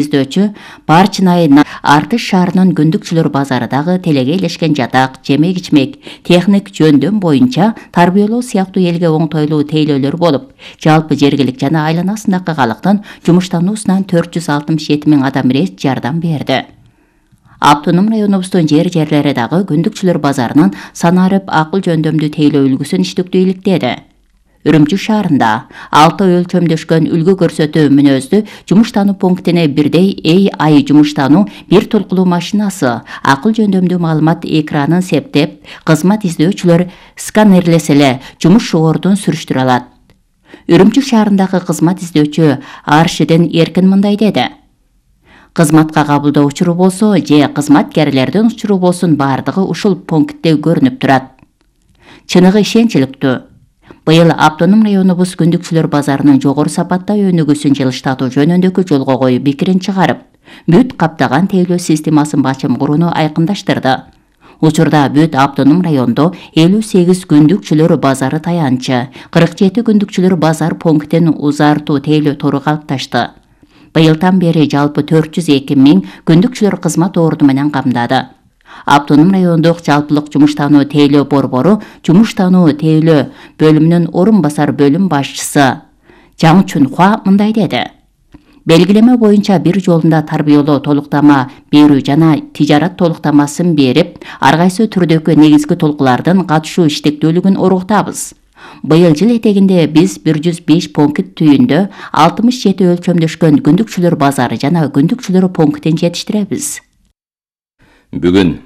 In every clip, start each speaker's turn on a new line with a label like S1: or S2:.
S1: издөөчү Барчынай Артыш шаарынын Күндүкчүлөр базарыдагы телеге илешкен жатак, жемек-ичмек, техник жөндөм боюнча тарбиялоо сыяктуу элге оңтойлуу тейлөөлөр болуп, жалпы жергилик жана айланасындагы калктын жумуштануусунан 467 000 адам ирет жардам берди. Автоном районубуздун жерлери дагы Күндүкчүлөр базарынын санарып акыл жөндөмдүү тейлөө үлгүсүн иштиктүү иликтеди. Үрүмчү шаарында 6 өлчөмдөшкөн үлгү көрсөтүү мүнөздүү жумуштануу пунктине бирдей AI жумуштануу бир толкулуу машинасы акыл жөндөмдүү маалымат экранын септеп, кызмат издөөчүлөр сканерлесе эле жумуш шоордун сүрүштүрө алат. Үрүмчү шаарындагы кызмат издөөчү Аршидин Эркин мындай деди. Кызматка кабылдоо учуру болсо же кызматкерлердин учуру болсун бардыгы ушул пунктте көрүнүп турат. Чыныгы ишенчиликтүү. Быйыл автоном районубуз Күндүкчүлөр базарынын жогору сапатта өнүгүүсүн жылыштатуу жөнүндөгү жолго коюп пикирин чыгарып, бүт каптаган тейлөө системасын бачым курууну айкындаштырды. Учурда бүт автоном райондо 58 Күндүкчүлөр базары таянчы, 47 Күндүкчүлөр базар пунктин узартуу тейлөө тору калыпташты. Быйылдан бери жалпы 402 000 Күндүкчүлөр кызмат орду менен камдады. Автоном райондук жалпылык жумуштануу тейлөө борбору жумуштануу тейлөө бөлүмүнүн орун басар бөлүм башчысы Жаң Чунхуа мындай деди. Белгилеме боюнча бир жолунда тарбиялоо толуктама берүү жана тижарат толуктамасын берип, ар кайсы түрдөгү негизги толкулардын катышуу иштектүүлүгүн оруктабыз. Быйыл жыл этегинде биз 105 пункт түйүндө 67 өлчөмдөшкөн Күндүкчүлөр базары жана Күндүкчүлөр пунктин жетиштиребиз.
S2: Бүгүн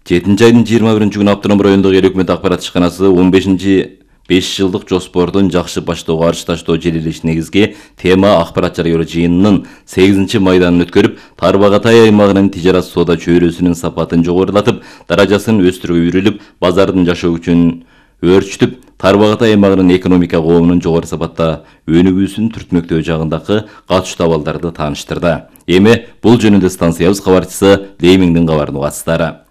S2: 7-айдын 21-күнү автоном райондогу эл өкмөт акпарат ишканасы 15 5 жылдык жоспордун жакшы баштоого арчташтоо желилеш негизги тема акпарат жарыялоо жыйынынын 8-майданын өткөрүп, Тарбагатай аймагынын тижарат соода чөйрөсүнүн сапатын жогорулатып, даражасын өстүрүүгө үйрүлүп, базардын жашоо күчүн өөрчүтүп, Тарбагатай аймагынын экономика коомунун жогору сапатта өнүгүүсүн түртмөктөө жагындагы катышуу абалдарды тааныштырды. Эми бул жөнүндө станциябыз кабарчысы Леймиңдин кабарын угасыздар.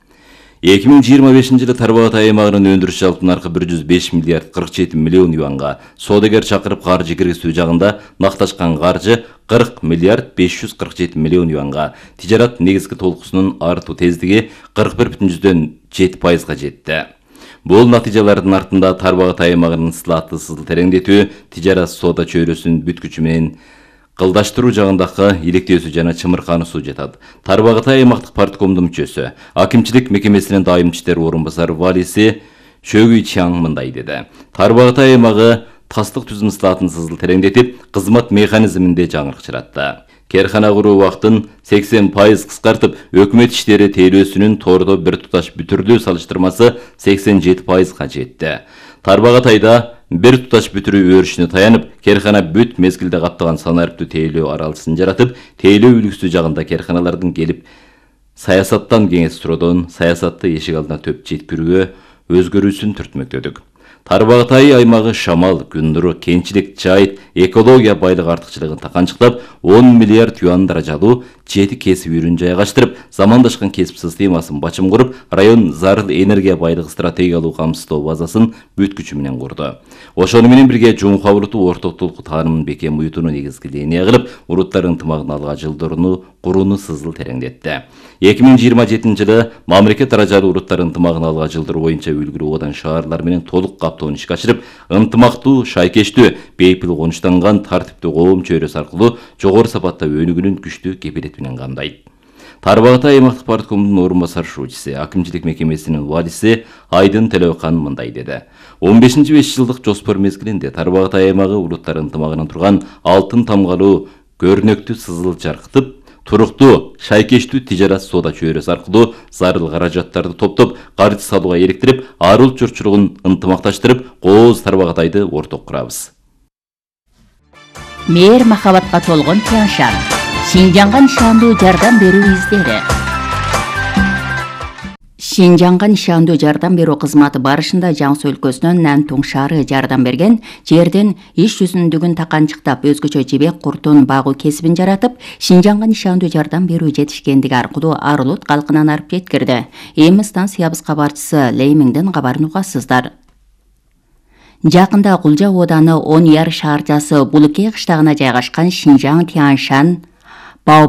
S2: 2025 жылы Тарбагатай аймагынын өндүрүш жалпы наркы 105 миллиард 47 миллион юанга, соодагер чакырып каржы киргизүү жагында накташкан каржы 40 миллиард 547 миллион юанга, тижарат негизги толкусунун артуу тездиги 41,7%га жетти. Бул натыйжалардын артында Тарбагатай аймагынын сылаатты сызыл тереңдетүү, тижарат соода чөйрөсүнүн бүткүчү менен кылдаштыруу жагындагы иликтөөсү жана чымыркануусу жатат. Тарбагатай аймактык парткомдун мүчөсү, акимчилик мекемесинин дайым иштер орун басары валиси Шөгүй Чаң мындай деди. Тарбагатай аймагы тастык түзүм сылаатын сызыл тереңдетип, кызмат механизминде жаңырык чыратты. Керхана куруу убактын 80% кыскартып, өкмөт иштери тейлөөсүнүн тордо бир туташ бүтүрдүү салыштырмасы 87%га жетти. Тарбагатайда бир туташ бүтүрүү өрүшүнө таянып, керхана бүт мезгилде каптаган санариптүү тейлөө аралысын жаратып, тейлөө үлгүсү жагында керханалардын келип саясаттан кеңес суроодон саясатты эшик алдына төп жеткирүүгө өзгөрүүсүн түртмөктөдүк. Тарбагатай аймагы шамал, күн нуру, кенчилик, жайыт, экология байлык артыкчылыгын таканчыктап, 10 миллиард юан даражалуу 7 кесип үйрүн жайгаштырып, замандашкан кесип системасын бачым куруп, район зарыл энергия байлыгы стратегиялуу камсыздоо базасын бүт күчү менен курду. Ошону менен бирге Жумха уруту орток толку таанымын бекем уютууну негизги линия кылып, уруттар ынтымагын алга жылдырууну курууну сызыл тереңдетти. 2027 жылы мамлекет даражалуу уруттар ынтымагын алга жылдыруу боюнча үлгүлүү одан шаарлар менен толук каптоон ишке ашырып, ынтымактуу, шайкештүү, бейпил конуштанган тартиптүү коом чөйрөсү аркылуу жогору сапатта өнүгүүнүн күчтүү кепилети менен камдайт. Тарбагатай аймактык парткомдун орун басар шуучусу, акимчилик мекемесинин валиси Айдын Төлөкан мындай деди. 15-5 жылдык жоспор мезгилинде Тарбагатай аймагы улуттар ынтымагынан турган алтын тамгалуу көрнөктүү сызыл жаркытып, туруктуу, шайкештүү тижарат соода чөйрөсү аркылуу зарыл каражаттарды топтоп, каржы салууга иликтирип, арыл журтчулугун ынтымакташтырып, кооз Тарбагатайды орток курабыз.
S1: Мээр махабатка толгон Тяншан, Шинжаңга нишандуу жардам берүү издери. Шинжаңга нишандуу жардам берүү кызматы барышында Жаңсы өлкөсүнөн Нантуң шаары жардам берген, жерден иш жүзүндүгүн таканчыктап, өзгөчө жебек куртун багуу кесибин жаратып, Шинжаңга нишандуу жардам берүү жетишкендиги аркылуу Арылут калкынан арып жеткирди. Эми станциябыз кабарчысы Леймиңдин кабарын угасыздар. Жакында Кулжа ооданы 10 яр шаарчасы Булуке кыштагына жайгашкан Шинжаң Тяншан Бао